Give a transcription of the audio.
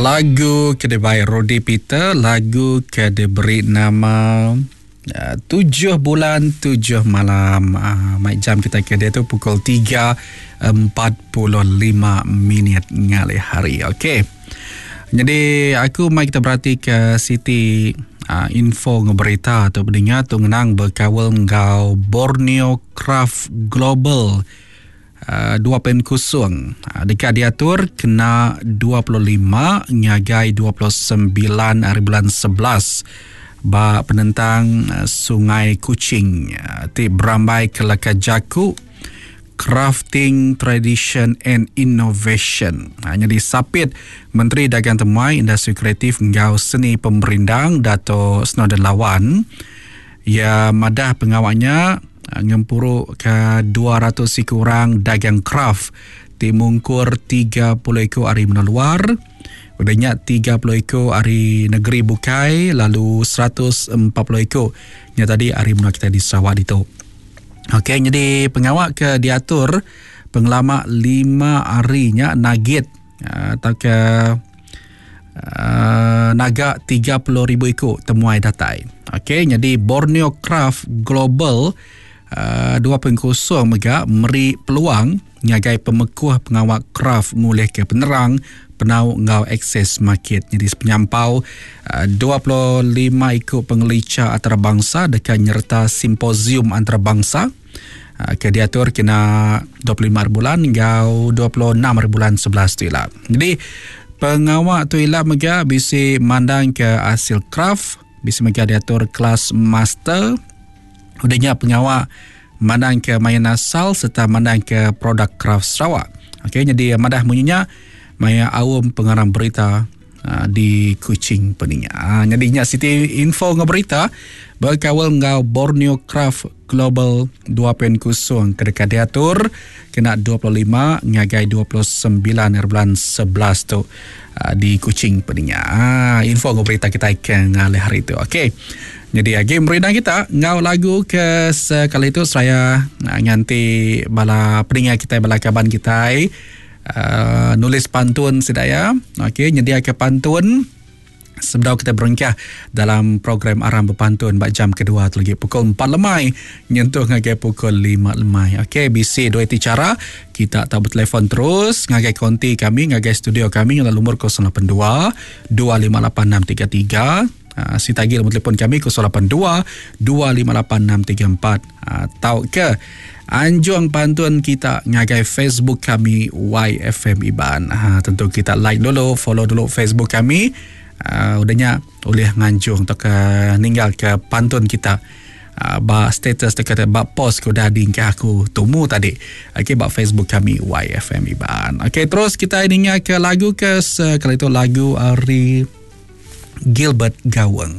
Lagu ke dibai Rody Peter, lagu ke diberi nama uh, Tujuh Bulan Tujuh Malam. Uh, mai jam kita ke dia tu pukul 3.45 minit ngalih hari. Okey. Jadi aku mai kita berati ke siti uh, info ngeberita tu pendengar tu ngenang berkawal enggau Borneo Craft Global. 2 pen kusung deka diatur kena 25 ngagai 29 hari bulan 11 ba penentang Sungai Kuching ti berambai ke leka jaku Crafting Tradition and Innovation. Nyadi sapit Menteri Dagang Temuai, Industri Kreatif enggau Seni Pemerindang Dato Snowdan Lawan Iya madah pengawa nya ngempuruka 200 iku orang dagang kraf ti mungkur 30 iku ari menua luar, udah nya 30 iku ari negeri bukai lalu 140 iku nya tadi ari menua kitai di Sarawak ditu. Okey nyadi pengawa ke diatur pengelama lima hari nya nagit tauka uh, naga 30,000 iku temuai datai. Okey, jadi Borneo Craft Global uh, 2.0 mega meri peluang ngagai pemekuh pengawa craft ngulihka penerang penau enggau akses market. Jadi sepenyampau uh, 25 iku pengelicha antarabangsa deka nyereta simposium antarabangsa uh, ke diatur kena 25 hari bulan enggau 26 hari bulan 11 tu ila. Jadi pengawa tu ila mega bisi mandang ke hasil craft, bisi mega diatur kelas master. Udah nya pengawa mandang ke main asal serta mandang ke produk craft Sarawak. Okey, jadi madah munyi nya maya aum pengarang berita Ah, di Kuching peninga. Ah, jadi nya siti info enggau berita berkaul enggau Borneo Craft Global 2.0 ke deka diatur kena 25 ngagai 29 hari bulan 11 tu ah, di Kuching peninga. Info enggau berita kita ke ngalih hari tu. Okey. Jadi agi merindang kita enggau lagu ke sekali tu saya nganti bala peninga kita bala kaban kita Uh, nulis pantun sida ya. Okey, nyediaka pantun sebedau kita berengkah dalam program Aram Bepantun ba jam kedua tu lagi pukul 4 lemai nyentuh ngagai pukul 5 lemai. Okey, bisi dua iti cara kita tau bertelefon terus ngagai konti kami ngagai studio kami ngena lumur 082 258633 uh, si tagi nombor telefon kami 082 258634 uh, tau ke anjung pantun kita ngagai Facebook kami YFM Iban. Ha, tentu kita like dulu, follow dulu Facebook kami. Uh, udahnya boleh nganjung atau ke ninggal ke pantun kita uh, ba status dekat ba post ke udah diingkah aku tumu tadi. Okey ba Facebook kami YFM Iban. Okey terus kita ninga ke lagu ke sekali tu lagu ari Gilbert Gaweng.